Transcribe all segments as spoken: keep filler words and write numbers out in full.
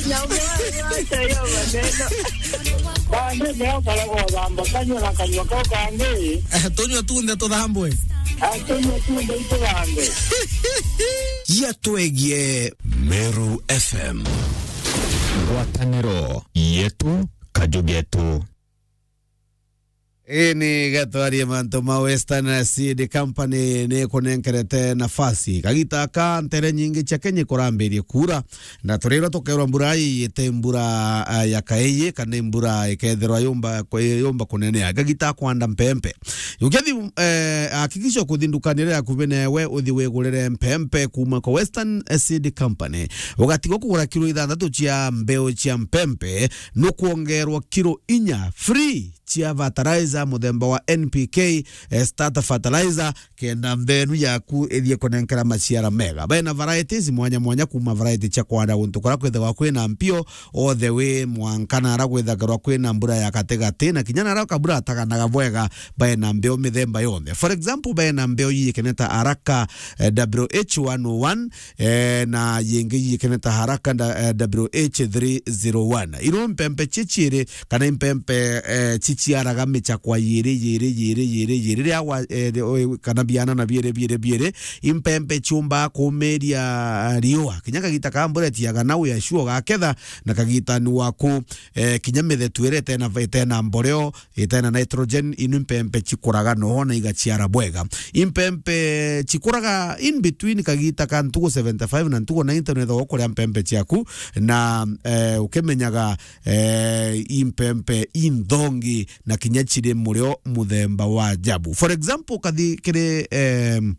Nyamwari, wacha hiyo maneno. Bande leo kare gothamba kanyua na kanyua kau kangi. Eh, tunyua tunthe tuthambwe. Ah, tunyua tunthe ituthambe. Yatwegie Meru F M. Ngwataniro yetu, kaju getu. Ii ni gatwarie mantu ma Western Seed Company ni kunenkerete nafasi. Kagita ka ntere nyingi cia Kenya ikurambirie kuura, na turirwa tukerwa mbura ii ite mbura, ah, ya kaiji, kana mbura ikethirwa yumba, yumba kunenea. Kagita kwanda mpempe. Ukethi, eh, hakikisha kuthi ndukani iria yakuvi newe uthi wigurire mpempe kuuma kwa Western Seed Company. Ugatigwa kugura kilo ithanthatu cia mbeu cia mpempe, nukwongerwa kilo inya free cia fertilizer muthemba wa N P K, eh, starter fertilizer, kenda mbeu yaku ithie kunenkera maciara mega. Bena varieties mwanya mwanya, kuuma variety cia kwanda guntu kuria kwithagwa kwina mpio, all the way mwanka nara gwithagirwa kwina mbura ya gatigati, na kinya nara kabura ataganaga bwega, bena mbeu mithemba yonthe. For example, bena mbeu yikeneta haraka, eh, W H one oh one, eh, na yingi yikeneta haraka nda-, eh, W H three zero one. Ino mpempe chichiiri kana impempe, eh, chichiaraga michakwa yiri, yiri, yiri, yiri, yiri, ria wa, eh, ri-, o-, kana biana na biiri, biiri, biiri, impempe chiumba kumiria riua. Kinya kagita ka mbura itiaga na uya sure gaketha, na kagita ni waku, eh, kinya mithetu iria itena, itena mboreo, itena nitrogen, inu impempe chikuraga noho na igachiara bwega. Impempe chikuraga in between kagita ka ntugu seventy-five na ntugu ninety, nwethagwa ukuria mpempe chiaku, na, eh, ukimenyaga, eh, impempe inthongi na kinya chiri murio muthemba wa ajabu. For example, kathi kiri, em,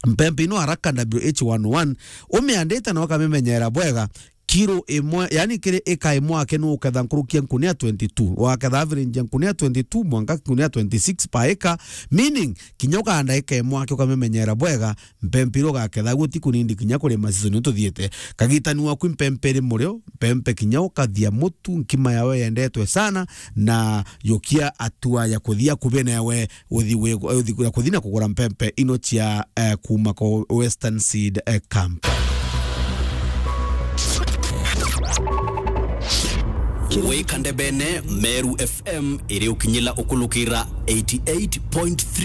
mpempe ino haraka W H one oh one, umiandite na ukamimenyera bwega, kilo imwe, yani kiri ika imwe ake nuketha nkuruki ya nkunia twenty-two. Waketha average ya nkunia twenty-two mwanka nkunia twenty-six per acre, meaning kinya ukanda ika imwe ake ukamimenyera bwega, mpempe iria ugaketha guo ti kunindi kinya kurima season tuthiite. Kagitani waku impempe iri murio, mpempe kinya ukathia mutu, nkima yawe yendetwe sana, na yukia atua ya kuthia kubi newe uthi wi-, uthi kuria kuthi na kugura mpempe ino cia, eh, kuuma kwa Western Seed, eh, Camp. Wikande bene Meru F M iri ukinyila ukulukira eighty-eight point three.